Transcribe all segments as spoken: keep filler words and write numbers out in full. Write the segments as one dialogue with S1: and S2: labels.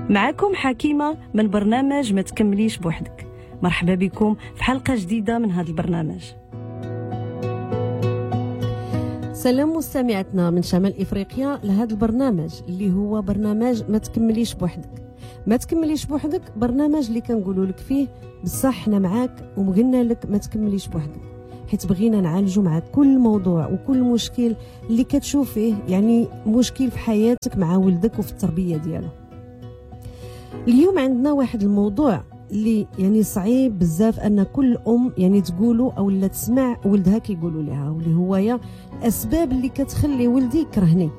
S1: معكم حكيمة من برنامج ما تكمليش بوحدك. مرحبا بكم في حلقة جديدة من هذا البرنامج. سلام مستمعتنا من شمال إفريقيا لهذا البرنامج اللي هو برنامج ما تكمليش بوحدك. ما تكمليش بوحدك برنامج اللي كنقولوا لك فيه بصح حنا معاك وقلنا لك ما تكمليش بوحدك، حيت بغينا نعالجوا معاك كل موضوع وكل مشكل اللي كتشوفيه يعني مشكل في حياتك مع ولدك وفي التربية ديالو. اليوم عندنا واحد الموضوع اللي يعني صعيب بزاف ان كل ام يعني تقولوا او لا تسمع ولدها كيقولوا لها، واللي هو يا الاسباب اللي كتخلي ولدي يكرهني.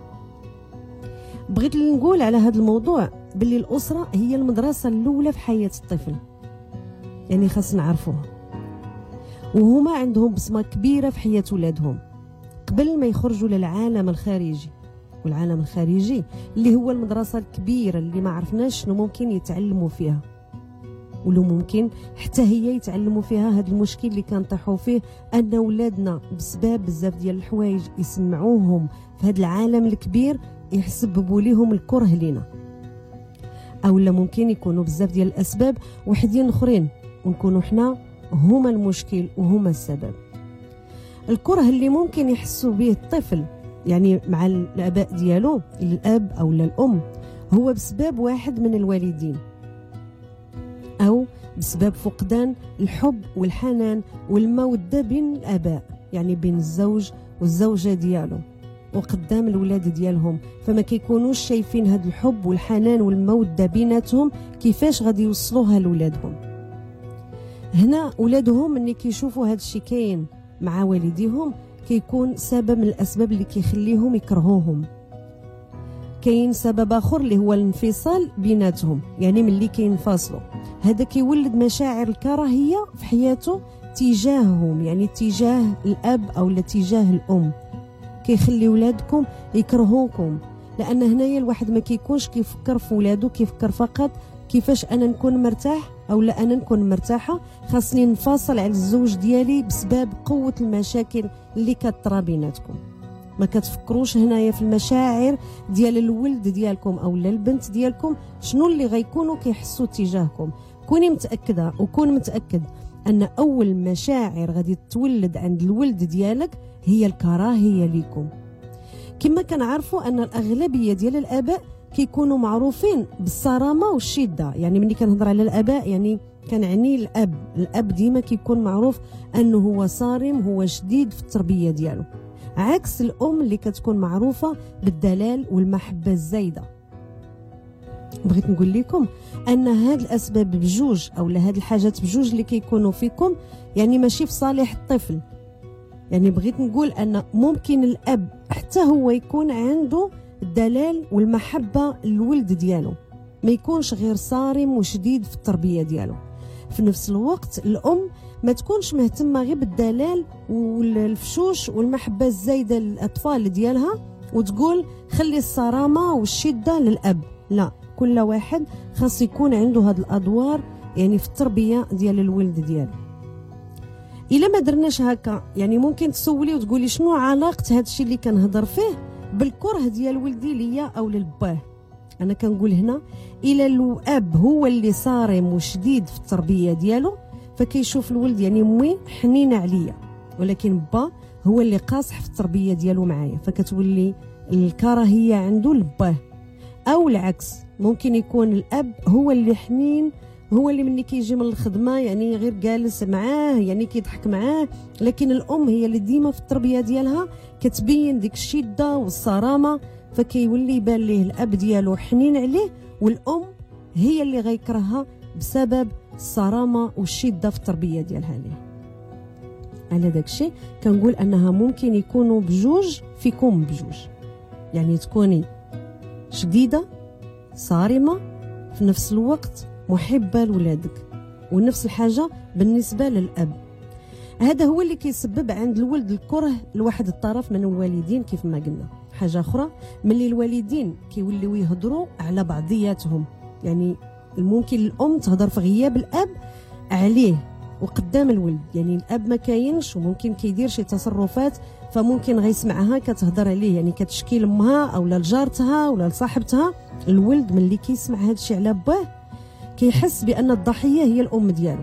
S1: بغيت نقول على هذا الموضوع باللي الاسرة هي المدرسة الاولى في حياة الطفل، يعني خاص نعرفوها، وهما عندهم بصمة كبيرة في حياة ولادهم قبل ما يخرجوا للعالم الخارجي. والعالم الخارجي اللي هو المدرسة الكبيرة اللي ما عرفناش شنو ممكن يتعلموا فيها، ولو ممكن حتى هي يتعلموا فيها هذا المشكل اللي كنطيحوا فيه ان ولادنا بسبب بزاف ديال الحوايج يسمعوهم في هذا العالم الكبير يسببوا لهم الكره لينا، او لا ممكن يكونوا بزاف ديال الاسباب وحدين اخرين ونكونوا حنا هما المشكل وهما السبب. الكره اللي ممكن يحسوا به الطفل يعني مع الاباء ديالو، الاب او الام، هو بسبب واحد من الوالدين او بسبب فقدان الحب والحنان والمودة بين الاباء، يعني بين الزوج والزوجة ديالو وقدام الولاد ديالهم، فما كيكونوش شايفين هذا الحب والحنان والمودة بيناتهم كيفاش غادي يوصلوها لولادهم. هنا ولادهم ملي كيشوفوا هذا الشيء كاين مع والديهم كيكون سبب من الاسباب اللي كيخليهم يكرهوهم. كاين سبب اخر اللي هو الانفصال بيناتهم، يعني ملي كينفصلوا هذا كيولد مشاعر الكراهية في حياته تجاههم، يعني تجاه الاب او تجاه الام، كيخلي ولادكم يكرهوكم، لان هنايا الواحد ما كيكونش كيفكر في ولادو، كيفكر فقط كيفاش انا نكون مرتاح او لا انا نكون مرتاحة، خاصني نفاصل على الزوج ديالي بسبب قوة المشاكل اللي كطرا بيناتكم. ما كتفكروش هنايا في المشاعر ديال الولد ديالكم او لا البنت ديالكم شنو اللي غيكونوا كيحسوا تجاهكم. كوني متاكدة وكون متاكد ان اول مشاعر غادي تولد عند الولد ديالك هي الكراهية ليكم. كما كنعرفوا ان الاغلبية ديال الاباء كيكونوا معروفين بالصرامه والشدة، يعني ملي كنهضر على الاباء يعني كنعني الاب، الاب ديما كيكون معروف انه هو صارم، هو شديد في التربية ديالو، عكس الام اللي كتكون معروفة بالدلال والمحبة الزايدة. بغيت نقول لكم ان هاد الاسباب بجوج او هاد الحاجات بجوج اللي كيكونوا فيكم يعني ماشي في صالح الطفل. يعني بغيت نقول ان ممكن الاب حتى هو يكون عنده الدلال والمحبة للولد ديالو، ما يكونش غير صارم وشديد في التربية ديالو. في نفس الوقت الام ما تكونش مهتمة غير بالدلال والفشوش والمحبة الزايدة للاطفال ديالها وتقول خلي الصرامه والشدة للاب، لا، كل واحد خاص يكون عنده هاد الادوار يعني في التربية ديال الولد ديالو. الا ما درناش هكا يعني ممكن تسولي وتقولي شنو علاقة هاد الشيء اللي كنهضر فيه بالكرة ديال ولدي ليا او للباه. انا كنقول هنا الى الاب هو اللي صارم وشديد في التربية ديالو فكيشوف الولد يعني امي حنينه عليا، ولكن با هو اللي قاصح في التربية ديالو معايا، فكتولي الكراهية عنده لباه. او العكس، ممكن يكون الاب هو اللي حنين، هو اللي مني كيجي من الخدمة يعني غير جالس معاه يعني كيضحك معاه، لكن الام هي اللي ديما في التربية ديالها كتبين ديك الشدة والصرامه، فكيولي يبان ليه الاب ديالو حنين عليه والام هي اللي غيكرهها بسبب الصرامه والشدة في التربية ديالها ليه. على داكشي كنقول انها ممكن يكونوا بجوج فيكم بجوج، يعني تكوني شديدة صارمة في نفس الوقت محبة لولادك، ونفس الحاجة بالنسبة للاب. هذا هو اللي كيسبب عند الولد الكره لواحد الطرف من الوالدين كيف ما قلنا. حاجة اخرى، ملي الوالدين كيوليو يهضروا على بعضياتهم، يعني ممكن الام تهضر في غياب الاب عليه وقدام الولد، يعني الاب ما كاينش وممكن كيدير شي تصرفات فممكن غيسمعها كتهضر عليه، يعني كتشكي لامها او لجارتها ولا لصاحبتها. الولد ملي كيسمع هذا الشيء على باه كيحس بان الضحية هي الام ديالو،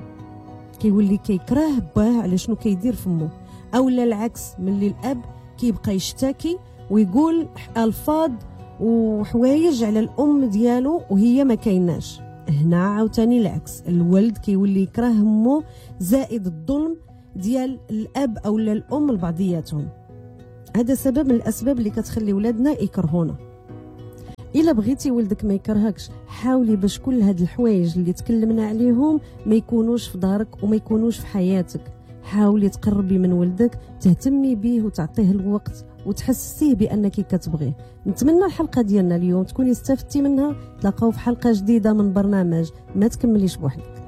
S1: كيولي كيكره باه على شنو كيدير فمو. او لا العكس، ملي الاب كيبقى يشتكي ويقول الفاظ وحوايج على الام ديالو وهي ما كايناش، هنا عاوتاني العكس، الولد كيولي يكره امه زائد الظلم ديال الاب او الام لبعضياتهم. هذا سبب من الاسباب اللي كتخلي ولادنا يكرهونا. الا بغيتي ولدك ما يكرهكش، حاولي باش كل هاد الحوايج اللي تكلمنا عليهم ما يكونوش في دارك وما يكونوش في حياتك. حاولي تقربي من ولدك، تهتمي به وتعطيه الوقت وتحسسيه بانك كتبغيه. نتمنى الحلقة ديالنا اليوم تكوني استفدتي منها. تلاقاو في حلقة جديدة من برنامج ما تكمليش بوحدك.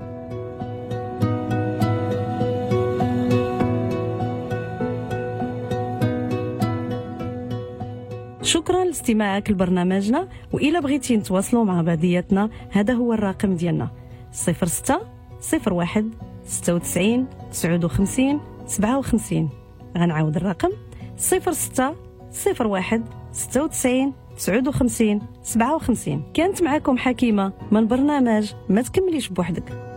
S1: شكرا لاستماعك لبرنامجنا، وإلا بغيتي نتواصلوا مع بعضياتنا هذا هو الرقم ديالنا صفر ستة صفر واحد ستة وتسعين تسعة وخمسين سبعة وخمسين. غنعاود الرقم صفر ستة صفر واحد ستة وتسعين تسعة وخمسين سبعة وخمسين. كانت معكم حكيمة من برنامج ما تكمليش بوحدك.